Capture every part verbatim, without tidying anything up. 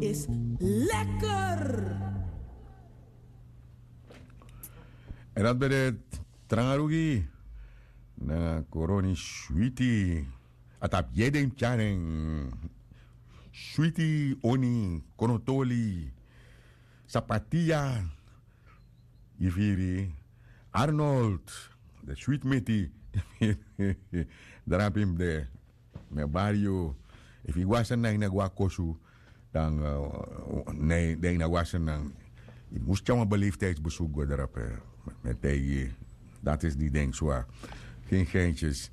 is lekker. En dat ben de Trangarugi na Koroni Switi. Atap yeden tyaring. Switi oni konotoli sapatia. Yu firi Arnold de switi meti. Drapi mi de. Mi e bari yu. Efu yu go a sani na ini a go a kosu, dan na ini a go a sani na yu mus tyari wan beleeftijdsbesuku go drape. Mi e taigi yu. Dati isi di denki swa. Gen gentyes.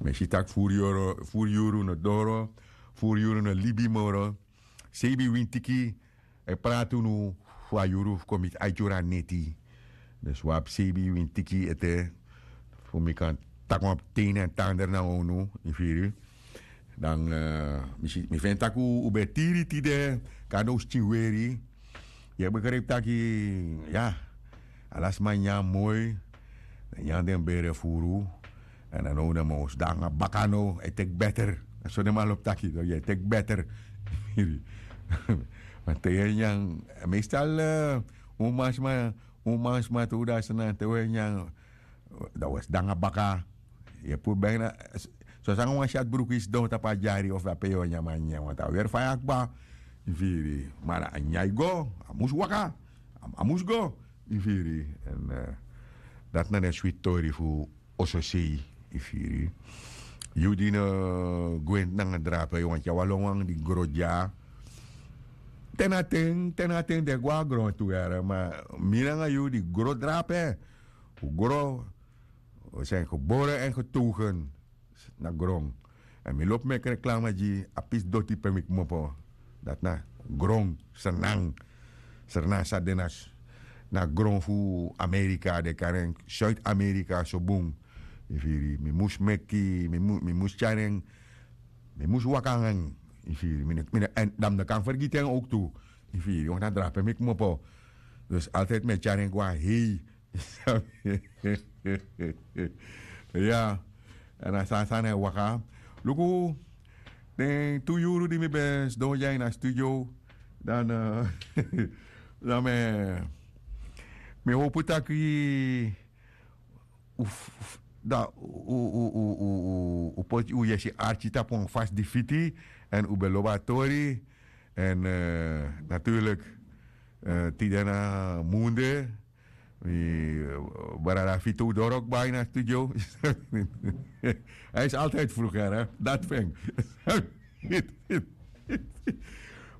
Mi e si tak' furu yuru no doro. Furu yuru no libi moro. Seibi wintiki e prati unu fu a yuru fu kon miti aiti yuru a neti. Dus wi abi seibi wintiki ete fu mi kan taki wan teni en tander nanga unu. Yu firi? Dan mi feni tak' un ben tiri tide. Kande un skin weri. Yu e begripi taki ya, ala sma nyan moi. Den nyan den bere furu. Èn a no un den mus de nanga baka now e teki beter. A so den man lobi taki yu e teki beter. Ma te yu e nyan, meestal un mansma, un mansma tu dasi na te un e nyan, dan un e sidon nanga baka. Yu e puru bina. Soso nanga wan syati bruku yu sidon tapu a dyari of a pe yu o nyan man nyan want a weri faya kba. Yu firi? Ma a nyan e go, a mus waka. A mus go. Yu firi? Èn dati na den switi tori fu ososei. Yu firi? Yu di no gwenti nanga drape yu wani tyari wan lonwan di gro dya. Te na ten te na ten den go na gron tu yara ma mi nanga yu di gro drape. Un gro. Un seni gebore èn getogen na gron. Èn mi lobi meki reklama gi a pisi doti pe mi kmopo. Dati na gron. Sernan. Sernan san de na gron fu amerika den kari en suid-amerika so bun. Yu firi? Mi mus meki mi mus tyari en. Mi mus waka nanga en. Yu firi? Èn dan mi no kan fergiti en owk tu. Yu firi? Wan na drape mi kmopo. Dus altidi mi e tyari en go na hei. Ya. Èn a sani sani e waka. Luku, den tu yuru di mi ben sidon dya ini a studio, dan dan mi e howpu taki un poti un yesi arki tapu wan fasi di fiti. Èn un ben lobi a tori. Èn naturlik, tide na munde. Mi brada fito un doro kba ini a studio. Hij is altijd vroeger hè, dat feng.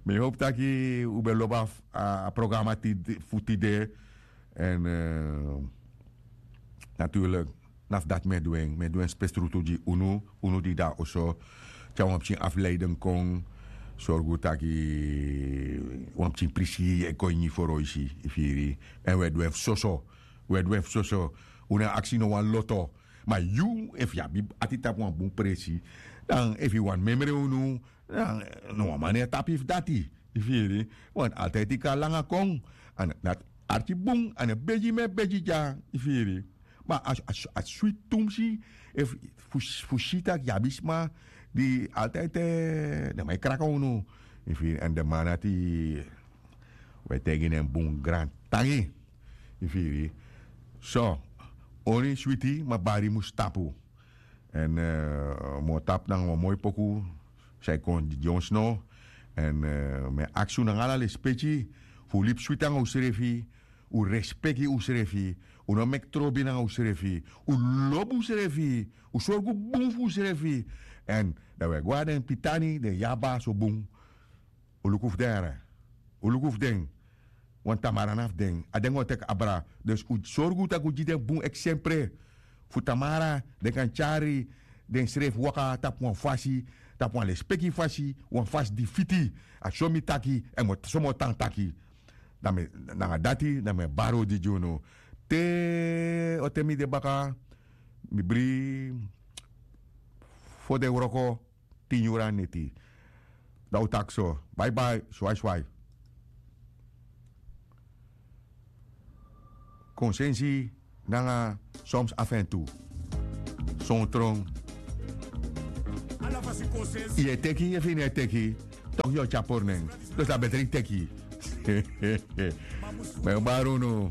Mi hopi taki un ben lobi a programa fu tide. Èn naturlik, na fu dati mi e du en mi e du en spesrutu gi unu. Unu di de na oso, tyari wan pikin afleiden kon. Sorgu taki wan pikin prisi e kon ini yu foroisi. Yu firi? Èn un e du en fu soso. Un e du en fu soso. Un no e aksi no wan loto. Ma yu efu yu abi ati tapu wan bun presi, dan efu yu wani memre unu, dan no wan man no e tapu yu fu dati. Yu firi? Want altidi yu kan langa kon. Èn dati arki bun. Èn a begi mi e begi dya. Yu firi? Ma a switi tumsi efu fu si tak' yu abi sma di altidi den man e kraka unu. Yu firi? Èn den man dati, wi e taigi den bun grantangi. Yu firi? So, oni switi ma bari mus tapu. Èn mi o tapu nanga wan moi poku san e kon gi ons no. Èn mi e aksi un nanga ala lespeki fu un libi switi nanga unsrefi. Un respeki unsrefi. Un no meki trobi nanga unsrefi. Un lobi unsrefi. Un sorgu bun fu unsrefi. Èn dan wi e go na den pitani den yaba so bun. Un luku fu den. Un luku fu den. Wan tamara na fu den a den go teki abra. Dus un sorgu tak' un gi den bun eksempre fu tamara den kan tyari densrefi waka tapu wan fasi, tapu wan lespeki fasi, wan fasi di fiti. A so mi taki èn mi o so mi o tan taki. Dan mi nanga dati dan mi e bari odi gi unu. Te o te mi de baka, mi bri fo den wroko. Tin yuru a neti. Dan un taki so. Baibai swai swai. Konsensi nanga soms afen tu. Sontron. Yu e teki efu yu no e teki. Tok' yu o tyari pori nen. Dus a betri teki. Ma yu bari unu.